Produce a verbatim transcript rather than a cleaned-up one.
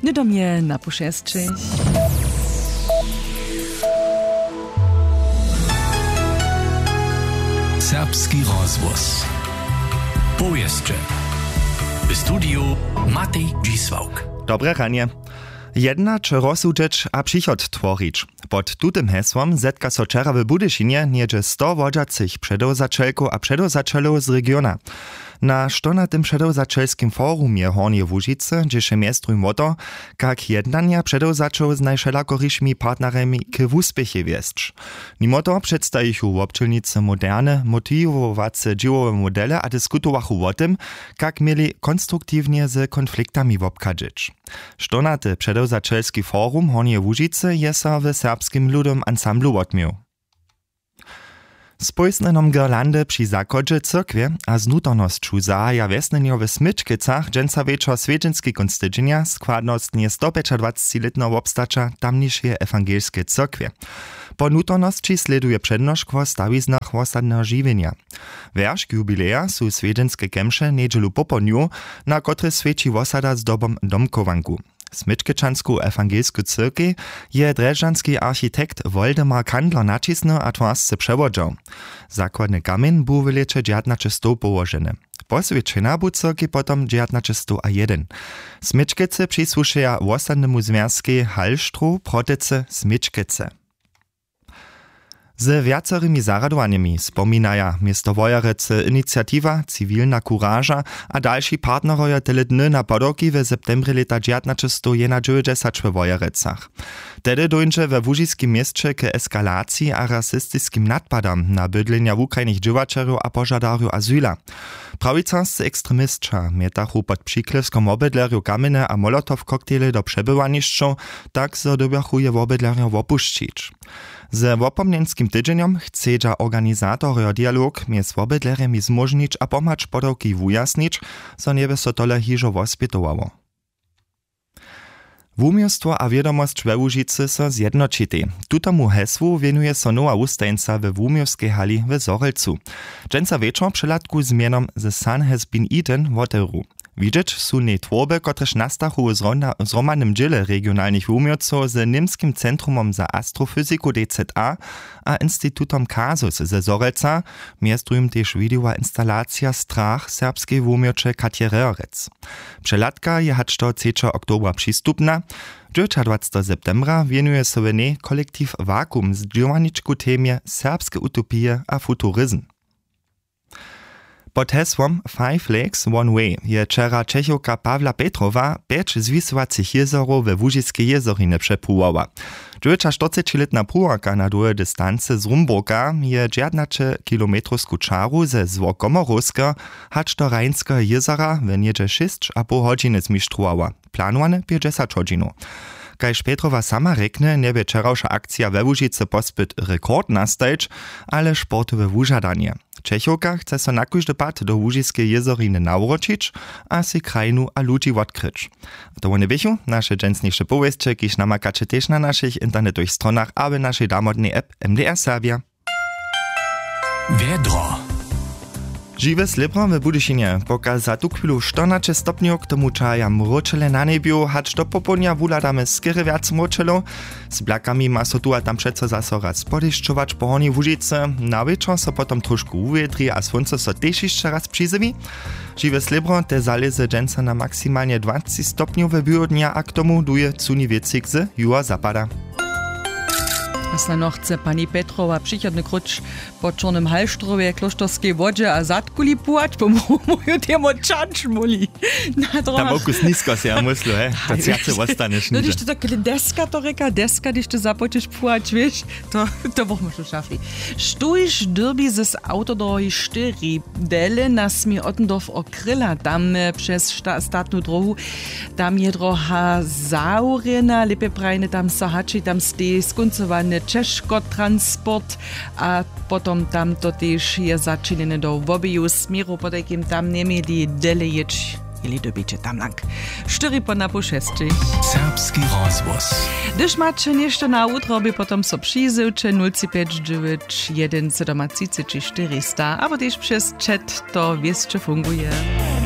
Hnydom je na pušesćich. Serbski rozhłos. Powěsće. W studiju Matej Dźisławk. Dobre ranje. Jednać, rozsudźeć a přichod tworić. Pod tutym hesłom zetka so wčera w Budyšinje něhdźe sto wodźacych předewzaćelkow a předewzaćelow z regiona. Na štonatym předewzaćelskim forumje Hornjeje Łužicy dźěše mjez druhim wo to, kak jednanja předewzaćow z najwšelakorišimi partnerjemi k wuspěchej wjesć. Nimo toho předstajichu wobdźělnicy moderne motiwowace dźěłowe modele a diskutowachu wo tym, kak měli konstruktiwnje z konfliktami wobchadźeć. Štonaty předewzaćelski forum Hornjeje Łužicy je so w Serbskim ludowym ansamblu wotměł. Z pójsnjenom girlandy při zachodźe cyrkwje a z nutarnosću zahaja wjesnjenjo w Smyčkecach dźensa wječor swjedźenski kónc tydźenja składnostnje stopjećadwacećilětneho wobstaća tamnišeje ewangelskeje cyrkwje. Po nutarnosći slěduje přednošk wo stawiznach wosadneho žiwjenja. Wjeršk jubileja su swjedźenske kemše njedźelu popołdnju, na kotrež swjeći wosada zdobom domchowanku. Smyčkečansku ewangelsku cyrkej je drježdźanski architekt Woldemar Kandler naćisnył a twarsce přewodźał. Zakładny kamjeń bu w lěće dźewjatnaćestow połoženy. Poswjećena bu cyrkej potom dźewjatnaćestow a jedyn. Smyčkece přisłušeja wosadnemu zwjazkej Hallstrow, Protycy, Smyčkece. Ze wjacorymi zarjadowanjemi spominaja město Wojerecy Iniciatiwa, Ciwilna kuraža a dalši partnerojo tele dny na podawki w septembrje lěta dźewjatnaćestow jedynadźewjećdźesat we Wojerecach. Tehdy dóńdźe we łužiskim měsće k eskalaciji a rasistiskim nadpadam na bydlenja wukrajnych dźěłaćerjow a požadarjow azyla. Prawicarscy ekstremisća mjetachu pod přiklěwskom wobydlerjow kamjeny a molotow-koktejle do přebywanišćow, tak zo dyrbjachu je wobydlerjo wopušćić. Ze wopomnjenskim tydźenjom chcedźa organizatorjo dialog mjez wobydlerjemi zmóžnić a pomhać podawki wujasnić, zo njeby so tole hižo wospjetowało. Wuměłstwo a wědomosć we Łužicy so zjednoćitej. Tutomu hesłu wěnuje so nowa wustajeńca we wuměłskej hali w Zhorjelcu. Dźensa wječor přehladku z mjenom The Sun Has Been Eaten wotewru. Widźeć su w njej twórby, kotrež nastachu w zrona- w zhromadnym dźěle regionalnych wuměłcow z Němskim centrumom za astrofyziku D Z A a institutom Kasus ze Zhorjelca, mjez druhim tež widejowa instalacija Strach serbskeje wuměłće Katje Reherec. Přehladka je hač do třećeho oktobra přistupna. Dźewjećadwaceteho septembra wěnuje so w njej kolektiv Vakuum z dźěłarničku temje serbske utopije a futurizm. Pod hesłom Five Lakes, One Way je wčera Čechowka Pawla Petrowa pjeć zwisowacych jězorow we Łužiskej jězorinje přepruwała. Dźewjećaštyrcećilětna pruwarka na dołhej distancy z Rumburka je dźewjatnaćekilometrowsku čaru ze Złokomorowskeho hač do Rajnskeho jězora w něhdźe šěsć a poł hodźiny zmištrowała. Planowane pjećdźesat hodźinow. Kaž Petrowa sama rjekny, njebě wčerawša akcija we Łužicy pospyt rekord nastajić, ale sportowe wužadanje. Čechowka chce so na kóždy pad do Łužiskeje jězoriny nawróćić a sej krajinu a ludźi wotkryć. A to wone běchu naše dźensniše powěsće, kiž namakaće tež na našich internetowych stronach a w našej damodnej app M D R Serbja. Wjedro. Žiwe slěbro w Budyšinje poka za tuchwilu štyrnaće stopnjow, k tomu čahaja mróčele na njebju, hač do popołdnja wuhladamy skerje wjac mróčelow. Z blakami ma so tu a tam přeco zaso raz podešćować po Hornjej Łužicy. Na wječor so potom trošku wuwědri a słónco so tež hišće raz přizjewi. Žiwe slěbro te zalěze dźensa na maksimalnje dwacci stopnjow we běhodnja a k tomu duje cuni wětřik z juhozapada. A snano chce pani Petrowa přichodny króć po čornym Halštrowje, Klóšterskej wodźe a Zadkuli puhać, pomruju temu čanč móhli. Na tam dróhach. Wokus nisko se ja myslu, he, to cjace wostaneš. No, hdyž ty tak deska to rěka, deska, hdyž ty započeš puhać, wěš, to, to pomóžu šafli. Štóž dyrbi z awtodróhi štyri? Dele nas mi Ottendorf okryla, tam, e, přez šta-, statnu dróhu. Tam je dróha zawrjena, lěpje prajene, tam so hači, tam steji skóncowane ćežkotransport a potom tam to tež je začinjene do wobeju směrow, potajkim tam njeměli dele jěć, jeli dyrbiće tam lang. Štyri po napoł šesćich. Serbski rozhłos. Hdyž maće něšto na wutrobi, potom so přizywće nul tři pjeć dźewjeć jedyn sydomatřiceći štyristo, abo tež přez chat, to wěsće funguje.